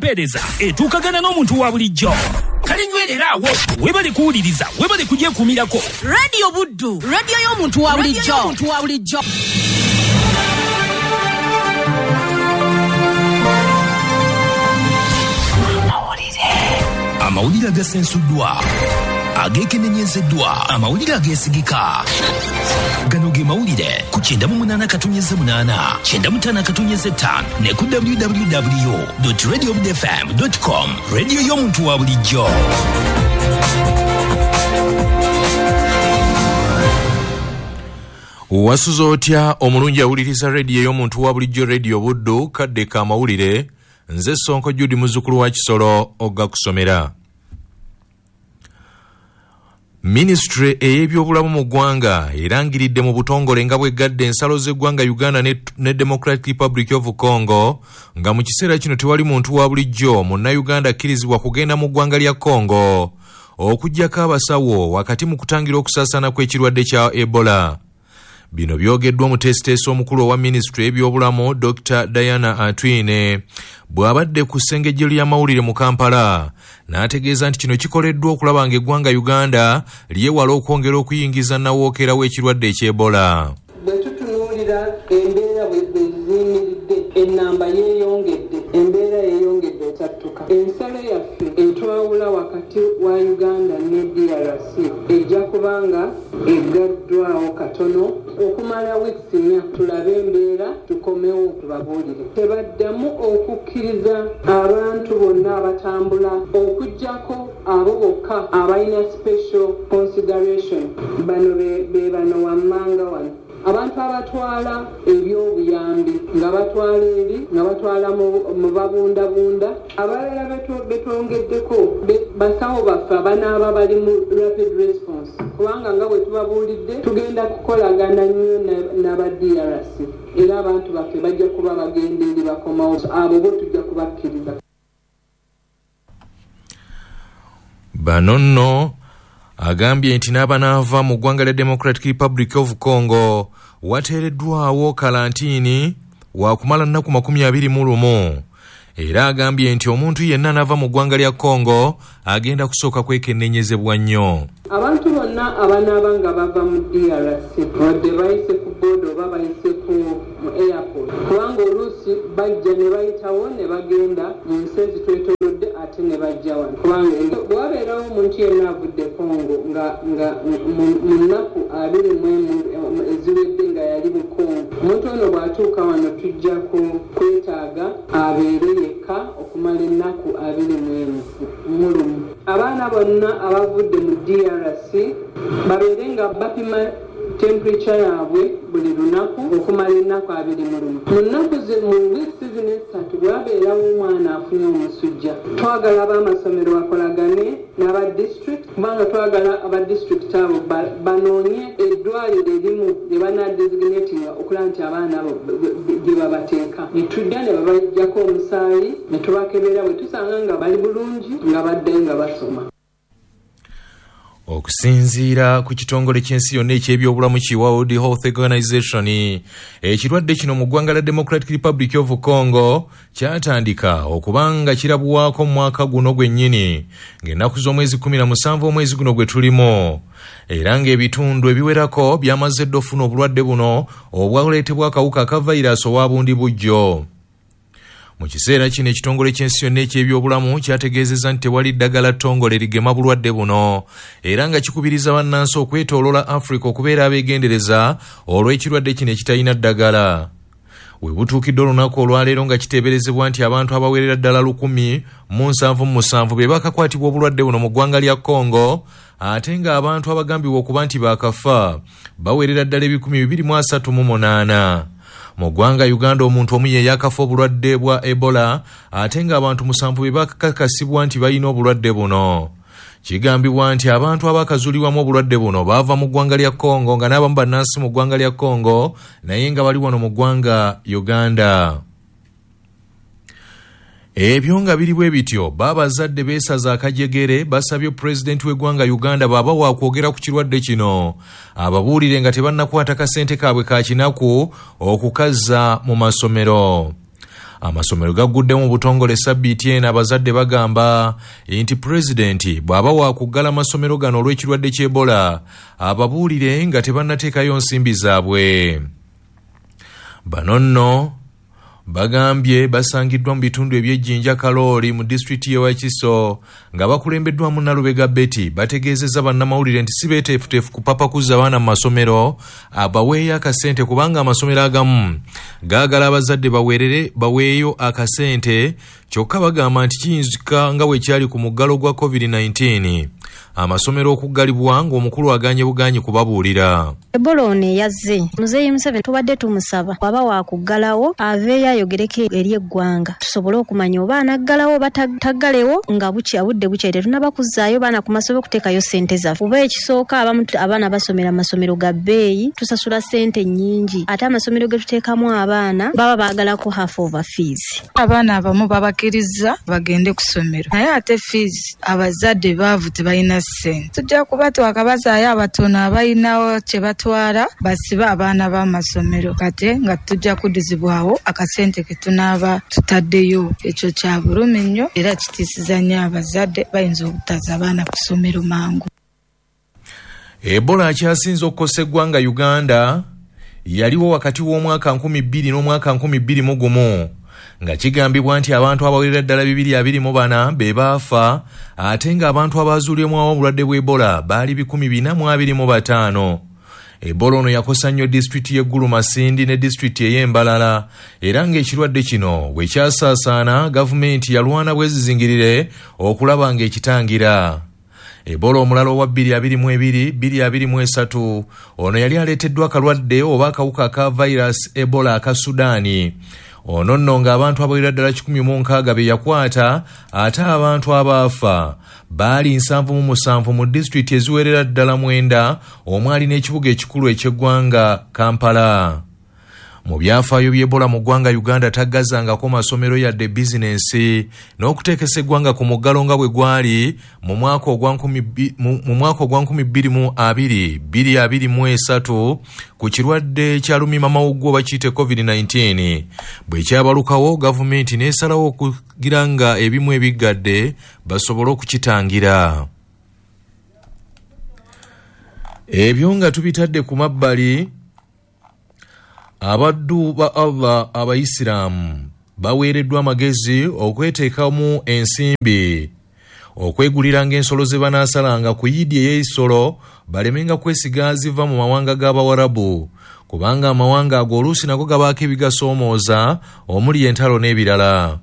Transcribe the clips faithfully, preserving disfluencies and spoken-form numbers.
empeereza etuukagana n'omuntu wa bulijjo. Kale nywerera awo, webale kuwuliriza, webale kugyekuumirako. Radio Buddu, radio y'omuntu wa bulijjo. Omuntu wa bulijjo. Amawulire agasensuddwa, ageekenenyezeddwa, amawulire ageesigika. Gano ge mawulire ku kyenda mu munaana katonnyeze munaana, kyenda mu ttaano katonnyeze ttaano ne ku w w w dot radio buddu f m dot com. Radio y'omuntu wa bulijjo. Wasuze otya omulungi awuliriza radio y'omuntu wa bulijjo, Radio Buddu, kadde ka mawulire. Nze Sonko Judy muzzukulu wa Kisolo ogakusomera. Ministry ey'ebyobulamu mu ggwanga erangiridde mu butongole nga bweggadde ensalo z'eggwanga Uganda ne, ne Democratic Republic of Congo, nga mu kiseera kino tewali muntu wa bulijjo munnayuganda akkirizibwa kugenda mu ggwanga lya Congo okuggyako abasawo wakati mu kutangira okusaasaana kw'ekirwadde kya Ebola. Bino byogeddwa omuteesiteesi omukulu owa minisitule y'ebyobulamu Doctor Diana Atwine bw'abadde ku ssengejjero ly'amawulire mu Kampala, n'ategeeza nti kino kikoleddwa okulaba ng'eggwanga Uganda lyewala okwongera okuyingiza nnawookeera w'ekirwadde eky'Ebola. Bwe tutunuulira embeera bwe ziyimiridde, ennamba yeeyongedde, embeera yeeyongedde otattuka. Ensalo yaffe etwawula wakati wa Uganda ne D R C ejja kubanga eggaddwawo katono okumala wiiki nnya, tulabe embeera tukomewo tubabuulire. Tebaddamu okukkiriza abantu bonna abatambula okuggyako abo bokka abalina special consideration. Bano be bano wammanga wano. Abantu abatwala ebyobuyambi nga batwala eri nga batwala mu babundabunda, abalala betwongeddeko basawo baffe abanaaba bali mu rapid response, kubanga nga bwe tubabuulidde tugenda kukolagana nnyo n'aba D R C, era abantu baffe bajja kuba bagenda eri bakomawo, abo bo tujja kubakkiriza. Bano nno agambye nti n'abanaava mu ggwanga lya Democratic Republic of Congo wateereddwawo kalantiini wakumala nnaku makumi abiri mu lumu. Era agambye nti omuntu yenna anaava mu ggwanga lya Congo agenda kusooka kwekenneenyezebwa nnyo. Abantu bonna abanaaba nga bava mu D R C wadde bayise ku boda oba bayise ku mu airport, kubanga oluusi bajja ne bayitawo ne bagenda mu nsi ezitwetoolodde ate ne bajja wano, kubanga bwabeerawo omuntu yenna avudde Congo nga nga mu nnaku abiri mu emu eziwedde nga yali mu Congo, omuntu ono bw'atuuka wano tujja kwetaaga abeere yekka okumala ennaku abiri mu emu mu lumu. Abaana bonna abavudde mu D R C babeere nga bapima temperature yaabwe buli lunaku okumala ennaku abiri mu lumu. Mu nnaku mu wiiki zino essatu bwabeerawo omwana afunye omusujja, twagala ab'amasomero bakolagane n'aba district, kubanga twagala aba district abo banoonye eddwaliro erimu lye banaadesignatinga okulaba nti abaana abo gye babateeka. Ne tujja ne babaggyako omusaayi ne tubakebera, bwe tusanga nga bali bulungi nga baddayo nga basoma. Okusinziira ku kitongole ky'ensi yonna eky'ebyobulamu ki World Health Organization, ekirwadde kino mu ggwanga lya Democratic Republic of Congo kyatandika okubanga kirabwako mu mwaka guno gwennyini ng'ennaku z'omwezi kkumi na musanvu omwezi guno gwe tulimu, era ng'ebitundu ebiwerako byamaze dda okufuna obulwadde buno obwaleetebwa akawuka aka vayiraasi owa bundi bujjo. Mu kiseera kino ekitongole ky'ensi yonna eky'ebyobulamu kyategeezezza nti tewali ddagala ttongole ligema bulwadde buno, era nga kikubiriza bannansi okwetooloola Africa okubeera abeegendereza olw'ekirwadde kino ekitalina ddagala. We butuukidde olunaku olwaleero nga kiteeberezebwa nti abantu abawerera ddala lukumi mu nsanvu mu musanvu be bakakwatibwa obulwadde buno mu ggwanga lya Congo, ate ng'abantu abagambibwa okuba nti baakafa bawerera ddala ebikumi bibiri mu asatu mu munaana. Mu ggwanga Uganda omuntu omu ye yakafa obulwadde bwa Ebola, ate ng'abantu musanvu be bakakasibwa nti balina obulwadde buno. Kigambibwa nti abantu abakazuulibwamu obulwadde buno baava mu ggwanga lya Congo nga n'abamu bannansi mu ggwanga lya Congo naye nga bali wano mu ggwanga Uganda. Ebyo nga biri bwe bityo, babazadde beesaza akajegere basabye pulezidenti w'eggwanga Uganda bw'aba waakwogera ku kirwadde kino ababuulire nga tebannakwata kasente kaabwe ka kinaku okukazza mu masomero. Amasomero gagguddemu mu butongole sabbiiti eno. Abazadde bagamba nti pulezidenti bw'aba waakuggala amasomero gano olw'ekirwadde ky'Ebola, ababuulire nga tebannateekayo nsimbi zaabwe. Bano nno bagambye basangiddwa mu bitundu eby'Ejjinja Kalooli mu disitulikiti y'e Wakiso nga bakulembeddwamu Nalubega Betty. Bategeezezza bannamawulire nti si beeteefuteefu kupapa kuzza abaana mu masomero, abaweeyo akasente kubanga amasomero agamu gaagala abazadde baweerere baweeyo akasente. Kyokka bagamba nti kiyinzika nga bwe kyali ku muggalo gwa covid nineteen, amasomero okuggalibwa ng'omukulu aganye buganyi kubabuulira. Ebola ono eyazze, Muzeeyi Museveni tubadde tumusaba bw'aba waakuggalawo aveeyo ayogereko eri eggwanga tusobole okumanya oba anaggalawo oba taggalewo nga bukya budde bukya. Tetunnaba kuzzaayo baana ku masomero kuteekayo ssente zaffe, kuba ekisooka abamu abaana basomera amasomero ga bbeeyi, tusasula ssente nnyingi, ate amasomero ge tuteekamu abaana baba baagalako half over fees. Abaana abamu babakkiriza bagende ku ssomero, naye ate fees abazadde baavu tebalina ssente. Tujja kuba twakabazaayo abatono abalinawo kye batwala basibe abaana b'amasomero, kate nga tujja kuddizibwawo akasente ke tunaaba tutaddeyo. Ekyo kya bulumi nnyo era kitiisiza nnyo abazadde, bayinza obutaza abaana ku ssomero mangu. Ebola akyasinze okukosa eggwanga Uganda yaliwo wakati w'omwaka nkumi bbiri n'omwaka nkumi bbiri mu gumu, nga kigambibwa nti abantu abawerera ddala bibiri abiri mu bana be baafa, ate ng'abantu abaazuulibwamu obulwadde bw'Ebola baali bikumi bina mu abiri mu bataano. Ebola ono yakosa nnyo disitulikiti y'e Gulu Masindi ne disitulikiti ey'Embalala, era ng'ekirwadde kino bwe kyasaasaana gavumenti yalwana bwezizingirire okulaba ng'ekitangira. Ebola omulala owa bbiri abiri mu ebiri bbiri abiri mu esatu ono yali aleeteddwa akalwadde oba akawuka aka virus Ebola aka Sudaani. Ono nno ng'abantu abawerera ddala kikumi mu nkaaga be yakwata, ate abantu abaafa baali nsanvu mu musanvu mu disitulikiti eziwerera ddala mwenda omwali n'ekibuga ekikulu eky'eggwanga Kampala. Mu byafaayo by'Ebola mu ggwanga Uganda taggazangako masomero yadde bizinensi n'okuteekesa eggwanga ku muggalo nga bwe gwali mu mwaka ogwa nkumi bbiri mu abiri bbiri abiri mu esatu ku kirwadde kya lumiimamawuggwe oba kiyite covid nineteen. Bwe kyabalukawo gavumenti n'esalawo okugira nga ebimu ebiggadde basobole okukitangira. Ebyo nga tubitadde ku mabbali, abaddu ba Allah abayisiraamu baweereddwa amagezi okweteekamu ensimbi okweguliranga ensolo ze banaasalanga ku yidi ey'ensolo, balemenga kwesiga ziva mu mawanga g'Abawarabu, kubanga amawanga ago oluusi nago gabaako ebigasoomooza omuli entalo n'ebirala.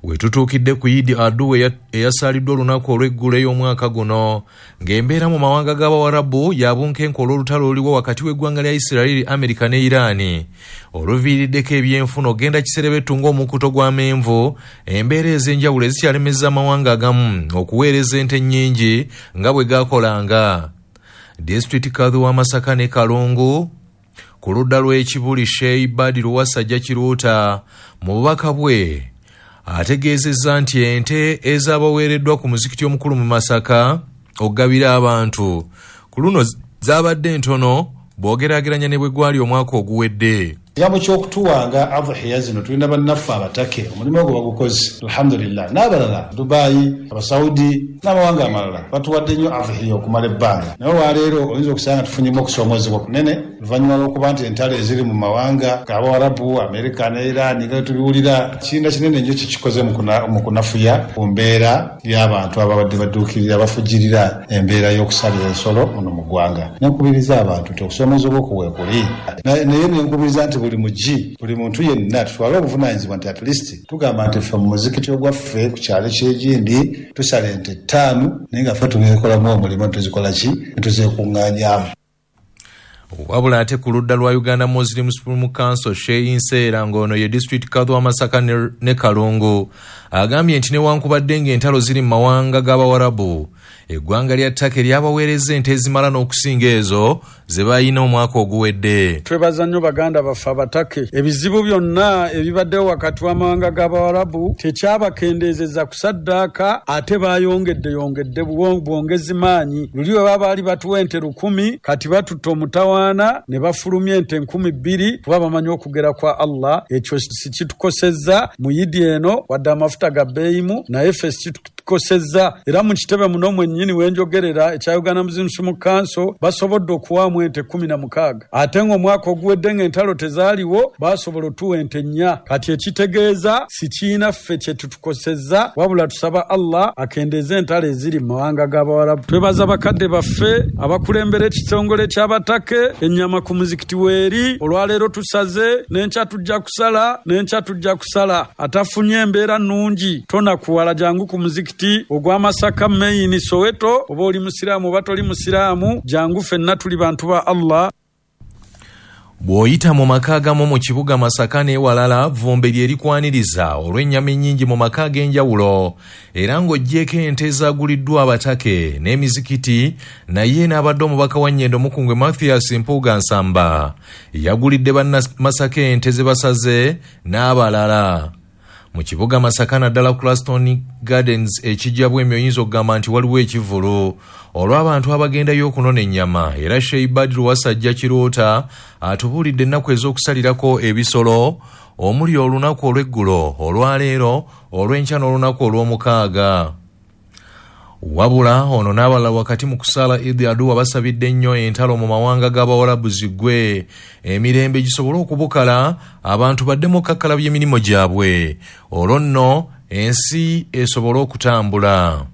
We tutuukidde ku Idi Adu eyasaaliddwa olunaku olw'eggulo ey'omwaka guno, ng'embeera mu mawanga g'Abawarabu yabunkenke olw'olutalo oluliwo wakati w'eggwanga lya Isirayiri, Amerika ne Iraani, oluviiriddeko ebyenfuna ogenda kiserebetu ng'omukuto gw'amenvu, embeera ez'enjawulo ezikyalemeza amawanga agamu okuweereza ente nnyingi nga bwe gaakolanga. Disitulikiti Kadhi wa Masaka ne Kalungu ku ludda lw'Ekibuli, Sheikh Badiru Wasajja Kiruuta mu bubaka bwe ategeezezza nti ente ezaabaweereddwa ku muzikiti omukulu mu Masaka okugabira abantu ku luno zaabadde ntono bw'ogeraageranya ne bwe gwali omwaka oguwedde. Ekigambo ky'okutuwanga adhiya zino tulina bannaffe abatake omulimu ogwo bagukoze alhamdulillah, n'abalala Dubai, Abasaudi n'amawanga amalala batuwadde nnyo adhiya okumala ebbanga. Naye olwaleero oyinza okusanga tufunyemu okusoomozebwa kunene oluvannyuma lw'okuba nti entalo eziri mu mawanga g'Abawarabu, Amerika ne Iran nga tubiwulira, kirinda kinene nnyo kikikoze mu kunafuya ku mbeera y'abantu ababadde badduukirira bafujjirira embeera y'okusalira ensolo muno mu ggwanga. Nenkubiriza abantu nti okusoomozebwa okwo weekuli, naye nenkubiriza nti buli mugi buli muntu yenna tutwale obuvunaanyizibwa nti at least tugamba nti ffe mu muzikiti ogwaffe ku kyalo ky'egindi tusala ente ttaano, naye nga ffe tugeekolamu omulimu tuzikola ki ne tuzeekuŋŋaanyaamu. Wabula ate ku ludda lwa Uganda Muslim Supreme Council, Sheikh Nseera ng'ono ye disitulikiti Kadhi wa Masaka ne Kalungu agambye nti newankubadde ng'entalo ziri mu mawanga g'Abawarabu, Eggwanga lya Turkey lyabaweereza ente ezimala n'okusinga ezo ze balina omwaka oguwedde. Twebaza nnyo baganda baffe Abatake. Ebizibu byonna ebibaddewo wakati w'amawanga g'Abawarabu tekyabakendeezeza kusaddaaka, ate baayongedde yongedde bwongezi maanyi. Luli we baba baali batuwa ente lukumi, kati batutta omutawaana ne bafulumya ente nkumi bbiri, kuba bamanyi okugera kwa Allah. Ekyo si kitukosezza mu Yidi eno, wadde amafuta ga bbeeyimu, naye ffe si kitukosezza. Era mu kitebe muno mwennyini wenjogerera ekya Uganda Muslim Council basobodde okuwaamu ente kumi na mukaaga, ate ng'omwaka oguwedde ng'entalo tezaaliwo basobola otuwa ente nnya. Kati ekitegeeza si kiina ffe kye tutukosezza, wabula tusaba Allah akendeeze entalo eziri mu mawanga g'Abawarabu. Twebaza bakadde baffe abakulembera ekitongole ky'Abatake. Ennyama ku muzikiti weeri, olwaleero tusaze, n'enkya tujja kusala, n'enkya tujja kusala. Atafunye embeera nnungi tonakuwala, jangu ku muzikiti ogw'Amasaka Main Soweto, oba oli musiraamu oba toli musiraamu, jangu ffenna tuli bantu ba Allah. Bw'oyita mu maka agamu mu kibuga Masaka n'ewalala, vvumbe lye likwaniriza olw'ennyama ennyingi mu maka ag'enjawulo, era ng'oggyeko ente ezaaguliddwa Abatake n'emizikiti. Naye n'abadde omubaka wa Nnyendo Mukungwe Mathias Mpuuga Nsamba yagulidde bannamasaka ente ze basaze n'abalala. Mu kibuga Masaka naddala Claston Gardens ekijja bwemi oyinza okugamba nti waliwo ekivvulu olw'abantu abagendayo okunona ennyama. Era Sheikh Badru Wasajja Kiroota atubuulidde ennaku ez'okusalirako ebisolo omuli olunaku olw'eggulo, olwaleero, olw'enkya n'olunaku olw'omukaaga. Wabula ono n'abalala wakati mu kusaala Idi Aduwa basabidde nnyo entalo mu mawanga g'Abawarabu ziggwe, emirembe gisobole okubukala, abantu baddemu okukakkalabya emirimu gyabwe, olwo nno ensi esobole okutambula.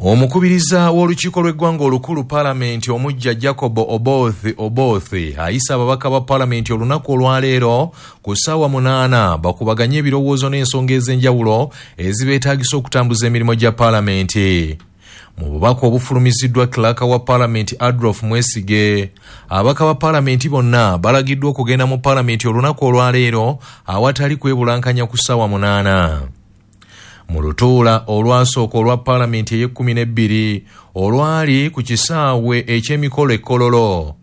Omukubiriza w'olukiiko lw'eggwanga olukulu Paalamenti omuggya Jacob Oboth Oboth ayise ababaka ba Paalamenti olunaku olwaleero ku ssaawa munaana bakubaganye ebirowoozo n'ensonga ez'enjawulo ezibeetaagisa okutambuza emirimu gya Paalamenti. Mu bubaka obufulumiziddwa Clerk wa Paalamenti Adolf Mwesige, ababaka ba Paalamenti bonna balagiddwa okugenda mu Paalamenti olunaku olwaleero awatali kwebulankanya ku ssaawa munaana. Mu lutuula olwasooka olwa Paalamenti ey'ekkumi n'ebbiri olwali ku kisaawe eky'emikolo e Kololo,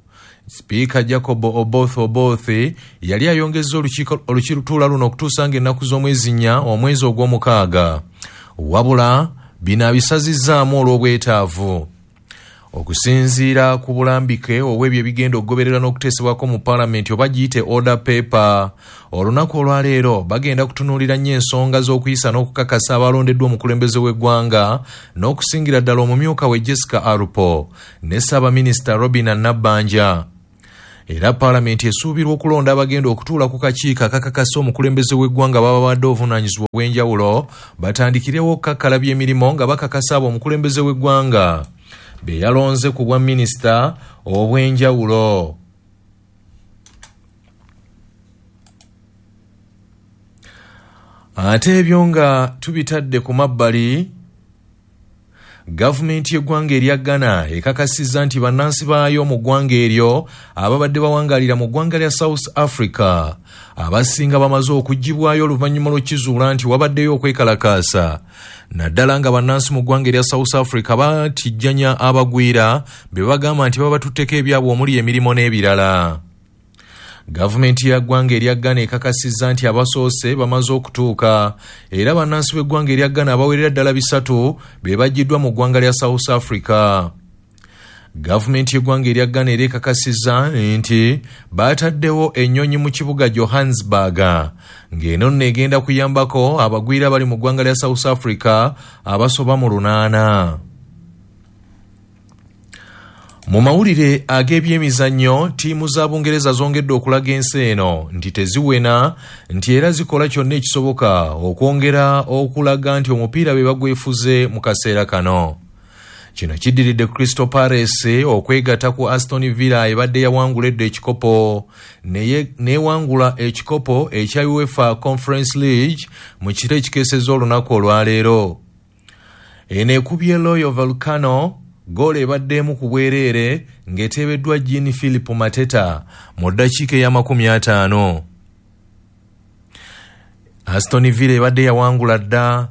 Sipiika Jacob Oboth Oboth yali ayongezza olukiiko luno okutuusa ng'ennaku z'omwezi nnya omwezi ogw'omukaaga, wabula bino abisazizzaamu olw'obwetaavu. Okusinziira ku bulambike obw'ebyo ebigenda okugoberera n'okuteesebwako mu Paalamenti oba giyite order paper, olunaku olwaleero bagenda kutunuulira nnyo ensonga z'okuyisa n'okukakasa abalondeddwa omukulembeze w'eggwanga n'okusingira ddala omumyuka we Jessica Alupo ne Ssaabaminisita Robina Nabbanja. Era Paalamenti esuubirwa okulonda abagenda okutuula ku kakiiko akakakasa omukulembeze w'eggwanga baba badde obuvunaanyizibwa obw'enjawulo batandikirewo okukakkalabya emirimu nga bakakasa abo omukulembeze w'eggwanga be yalonze ku bwa minisita obw'enjawulo. Ate ebyo nga tubitadde ku mabbali, gavumenti y'eggwanga erya Ghana ekakasizza nti bannansi baayo mu ggwanga eryo ababadde bawangaalira mu ggwanga lya South Africa abasinga bamaze okuggyibwayo oluvannyuma lw'okukizuula nti wabaddeyo okwekalakaasa, naddala nga bannansi mu ggwanga erya South Africa batijjanya abagwira be bagamba nti babatutteko ebyabwe omuli emirimu n'ebirala. Gavumenti ya ggwanga erya Ghana ekakasizza nti abasoose bamaze okutuuka era bannansi b'eggwanga erya Ghana abawerera ddala bisatu be baggiddwa mu ggwanga lya South Africa. Gavumenti y'eggwanga erya Ghana era ekakasizza nti bataddewo ennyonyi mu kibuga Johannesburg ng'eno nno egenda kuyambako abagwira abali mu ggwanga lya South Africa abasoba mu lunaana. Mu mawulire ag'ebyemizannyo, ttiimu za Bungereza zongedde okulaga ensi eno nti teziwena, nti era zikola kyonna ekisoboka okwongera okulaga nti omupiira be bagwefuze mu kaseera kano. Kino kiddiridde Crystal Palace okwegatta ku Aston Villa ebadde yawangula edda ekikopo n'ewangula ekikopo ekya UEFA Conference League mu kiro ekikeesezza olunaku olwaleero. Eno ekubye Rayo Vallecano goolo ebadde emu ku bwereere ng'eteebeddwa Jean Philip Mateta mu ddakiika ey'amakumi ataano. Aston Villa ebadde yawangula dda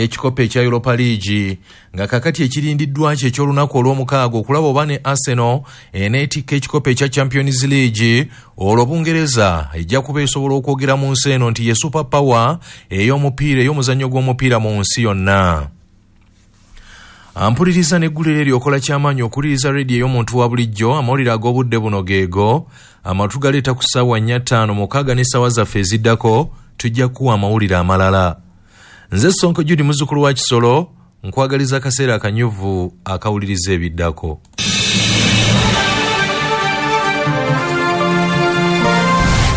ekikopo ekya Europa League, nga kakati ekirindiddwa kye eky'olunaku olw'omukaaga okulaba oba ne Arsenal eneetikka ekikopo ekya Champions League. Olwo Bungereza ejja kuba esobola okwogera mu nsi eno nti ye super power ey'omupiira, ey'omuzannyo gw'omupiira mu nsi yonna. Ampuliriza n'eggulire eryo okola kyamaanyi okuwuliriza rediyo ey'omuntu wa bulijjo. Amawulire ag'obudde buno geego amatu galeeta ku ssaawa nnya ttaano mukaaga n'essaawa zaffe eziddako tujja kuwa amawulire amalala. Nze Sonko Judy muzzukulu wa Kisolo, nkwagaliza akaseera akanyuvu akawuliriza ebiddako.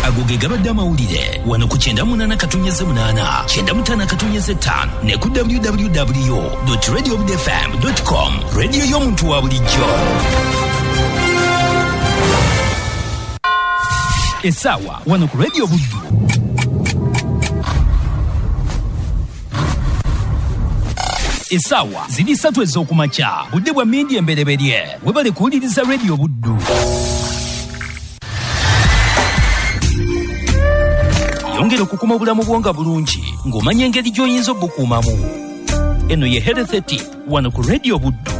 Ago ge gabadde amawulire wano ku kyenda munaana katonnyeze munaana, kyenda mutaano katonnyeze ttaano ne ku w w w dot radio buddu f m dot com. Rediyo y'omuntu wa bulijjo. Essaawa wano ku Radio Buddu. Essaawa ziri ssatu ez'okumakya, budde bwa mmindi embereberye. Webale kuwuliriza Radio Buddu. Yongera okukuma obulamu bwo nga bulungi ng'omanya engeri gy'oyinza obukuumamu. Eno ye Health Tip wano ku Radio Buddu.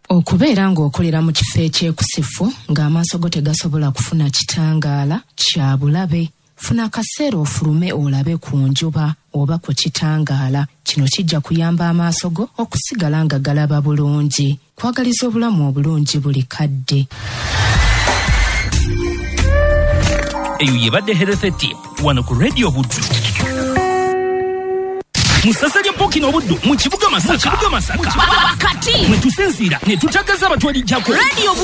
Okubeera ng'okolera mu kifo ekyekusifu ng'amaaso go tegasobola kufuna kitangaala kya bulabe. Funa akaseera ofulume olabe ku njuba oba ku kitangaala. Kino kijja kuyamba amaaso go okusigala nga galaba bulungi. Kwagaliza obulamu obulungi buli kadde. Eyo yebadde Health Tip wano ku Radio Buddu. Mu ssaza lya Ppookino Buddu mu kibuga Masaka. Mu kibuga Masaka. Wakati mwe tusinziira ne tutagaza abatwalijjako. Radio Buddu.